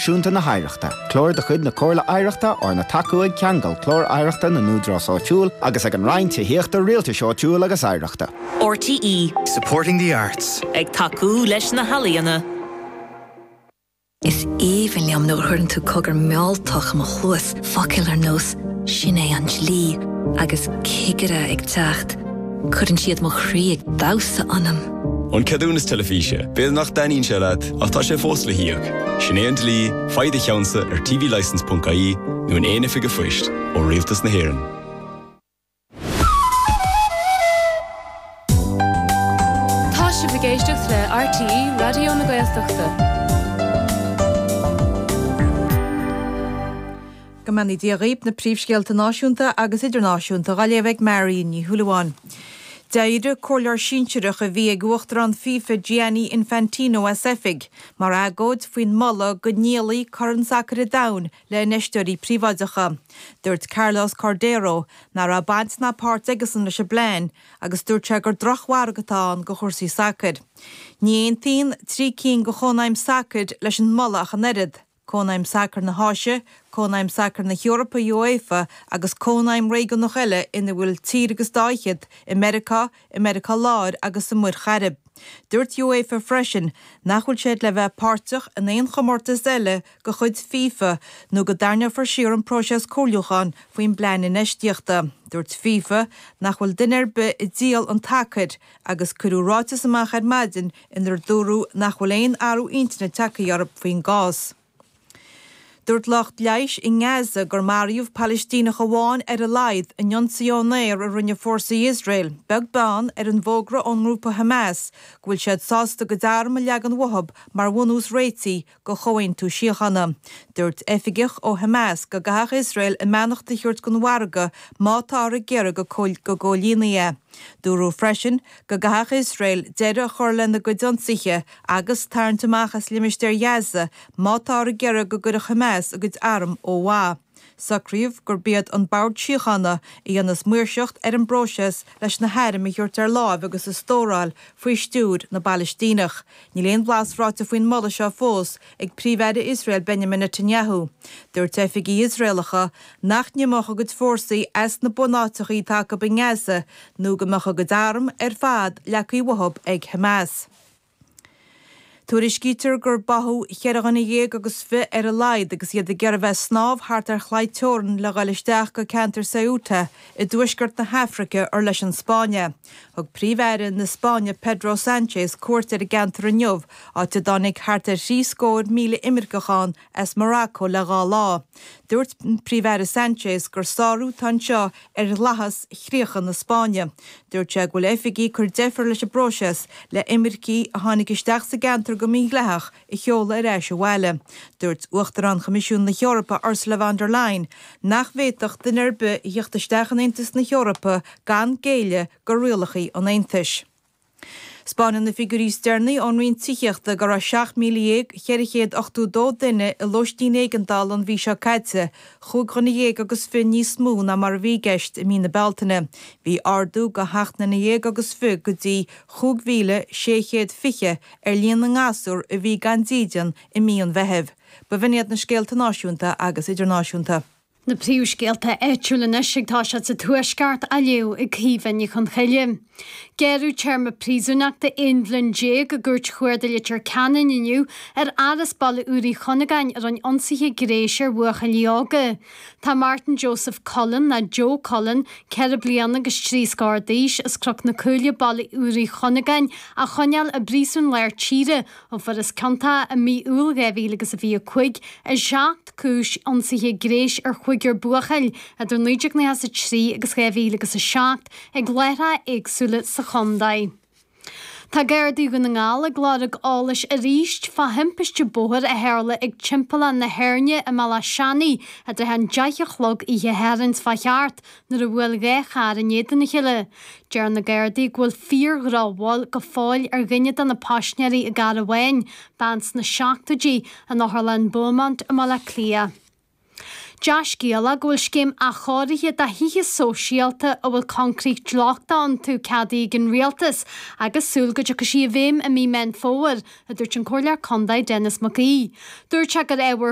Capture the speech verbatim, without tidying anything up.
Náisiúnta na hOidhreachta, Clár de chuid na Comhairle Oidhreachta arna tacú ag Ceangal Clár Oidhreachta na nÚdarás Áitiúil agus ag an Roinn Tithíochta Rialtais Áitiúil agus Oidhreachta. RTÉ Supporting the arts. Ag tacú leis na healaíona. Is aoibhinn liom nuair a chuireann tú cogar mealltach i mo chluas focail ar nós sin é an dlí agus cigire ag teacht. Cuireann siad mo chroí ag damhsa ionam. An ceadúnas teilifíse, B'fhéidir nach dtaitníonn sé leat ach tá sé fós le híoc. Sin é an dlí, faigh do cheannsa ar tvlicence.ie nó in aon oifig phoist ó Rialtas na hÉireann. Tá sibh ag éisteacht le RTÉ Raidió na Gaeltachta. Go mbeannaí Dia dhaoibh na príomhscéalta náisiúnta agus idirnáisiúnta á léamh ag Mary Ní Shúilleabháin. D'éirigh comhairleoir sinsearach a bhí ag Uachtarán FIFA Gianni Infantino as oifig, mar agóid faoin moladh go ndíolfaí Corn Sacair an Domhain le hinfheisteoirí príobháideacha. Dúirt Carlos Cordeiro nach raibh baint ná páirt aigesan leis an bplean agus dúirt sé gur drochmhargadh atá ann do chúrsaí sacair. Ní aontaíonn trí cinn de chónaidhm sacair leis an moladh ach an oiread. Cónaidhm Sacair na hÁise, Cónaidhm Sacair na hEorpa UEFA agus cónaidhm réigiúnach eile ina bhfuil tír agus dá fhichead i Meiriceá, i Meiriceá Láir agus sa Mhuir Chairib. Dúirt UEFA freisin nach bhfuil siad le bheith páirteach in aon chomórtas eile de chuid FIFA nó go dtarraingeofar siar an próiseas comhairliúcháin faoin bplean infheistíochta. Dúirt FIFA nach bhfuil duine ar bith ag díol an tsacair agus cuireadh ráiteas amach ar maidin inar dúradh nach bhfuil aon athrú intinne tagtha orthu faoin gcás. Dúirt lucht leighis i nGaza gur maraíodh Palaistíneach amháin ar a laghad in ionsaí ón aer a rinne fórsaí Iosrael, beag beann ar an bhfógra ón ngrúpa Hamas go bhfuil siad sásta a gcuid arm a leagan uathu mar bhunús réitigh do chomhaontú síochána. Dúirt oifigeach ó Hamas go gcaithfeadh Iosrael a mbeannacht a thabhairt don mhargadh má táthar ag iarraidh go gcomhlíonfaí é. Dúradh freisin go gcaithfeadh Iosrael deireadh a chur lena gcuid ionsaithe agus tarraingt amach as limistéar Ghaza má táthar ag iarraidh go gcuirfeadh Hamas a gcuid arm ó mhaith. Socraíodh gurb iad an Bord Síochána a dhéanfas maoirseacht ar an bpróiseas leis na hairm a thabhairt ar láimh agus a stóráil faoi stiúir na bPalaistíneach. Níl aon bhlas ráite faoin moladh seo fós ag Príomh-Aire Iosrael Benjamin Netanyahu. Dúirt oifigigh Iosraelacha nach n-imeodh a gcuid fórsaí as na bunáiteacha atá acu i nGaza nó go mbeadh a gcuid arm ar fad leagtha uathu ag Hamas. Tuairiscítear gur báthadh cheithre dhuine dhéag agus fiche ar a laghad agus iad ag iarraidh bheith ag snámh thart ar chlaí teorann le dhul isteach go ceantar Ceuta i dtuaisceart na hAfraice ar leis an Spáinn é. Thug Príomh-Aire na Spáinne Pedro Sánchez cuairt ar an gceantar inniu, áit a dtáinig thart ar thrí scór míle imirceach ann as Morocco le dhá lá. Dúirt Príomh-Aire Sánchez gur sárú atá anseo ar dhleathas chríocha na Spáinne. Dúirt sé go bhfuil oifigigh ag cur deifir leis an bpróiseas le imircigh a tháinig isteach sa gceantar go mídhleathach a sheoladh ar ais abhaile. Dúirt Uachtarán Choimisiún na hEorpa Ursula von der Leyen nach bhféadfadh duine ar bith a theacht isteach in Aontas na hEorpa gan géilleadh do rialacha an Aontais. 'Spáineann na figiúirí is deireanaí ón Roinn Tithíochta go raibh seacht míle dhéag cheithre chéad ochtó dó duine i lóistín éigeandála an mhí seo caite, chúig dhuine dhéag agus fiche níos mó ná mar a bhí i gceist i mí na Bealtaine. Bhí ardú de sheacht nduine dhéag agus fiche go dtí chúig mhíle sé chéad fiche ar líon na ngasúr a bhí gan dídean i mí an Mheithimh. B'in iad na scéalta náisiúnta agus idirnáisiúnta. Na príomhscéalta áitiúla anois ag toiseacht sa Tuaisceart á léamh ag Caoimhe Ní Chonchoille. Gearradh téarma príosúnachta aon bhliain déag i gCúirt Chuarda Leitir Ceanainn inniu ar fhear as Baile Úr Uí Chunagáin a rinne ionsaithe gnéis ar bhuachaillí óga. Tá Martin Joseph Cullen, nó Joe Cullen, ceithre bliana agus trí scór d'aois, as Cnoc na Cúile, Baile Úr Uí Chunagáin, á choinneáil i bPríosún Lár Tíre ó fuarthas ciontach i mí Iúil dhá mhíle agus a fiche a cúig i seacht gcúis ionsaithe gnéis ar chúigear buachaill idir naoi déag nócha a trí agus dhá mhíle agus a seacht ag láithreacha éagsúla sa chontae. Tá Gardaí Dhún na nGall ag lorg eolais arís fá thimpiste bóthair a tharla ag Timpeallán na hÉirne i mBealach Seanaidh i dtrátha an deich a chlog oíche Shathairn fá cheart nuair a bhuail dhá charr in éadan a chéile. Deir na Gardaí go bhfuil fíor-dhrochbhail go fóill ar dhuine de na paisinéirí i gcarr amháin, bean sna seachtóidí, in Otharlann Beaumont i mBaile Átha Cliath. Dea-scéala go bhfuil scéim athchóirithe do thithe sóisialta a bhfuil coincréit lochtach iontu ceadaithe ag an Rialtas agus súil go dtiocfaidh sí i bhfeidhm i mí Meán Fómhair, a dúirt an Comhairleoir Contae Denis Mac Aoidh. Dúirt sé gur ábhar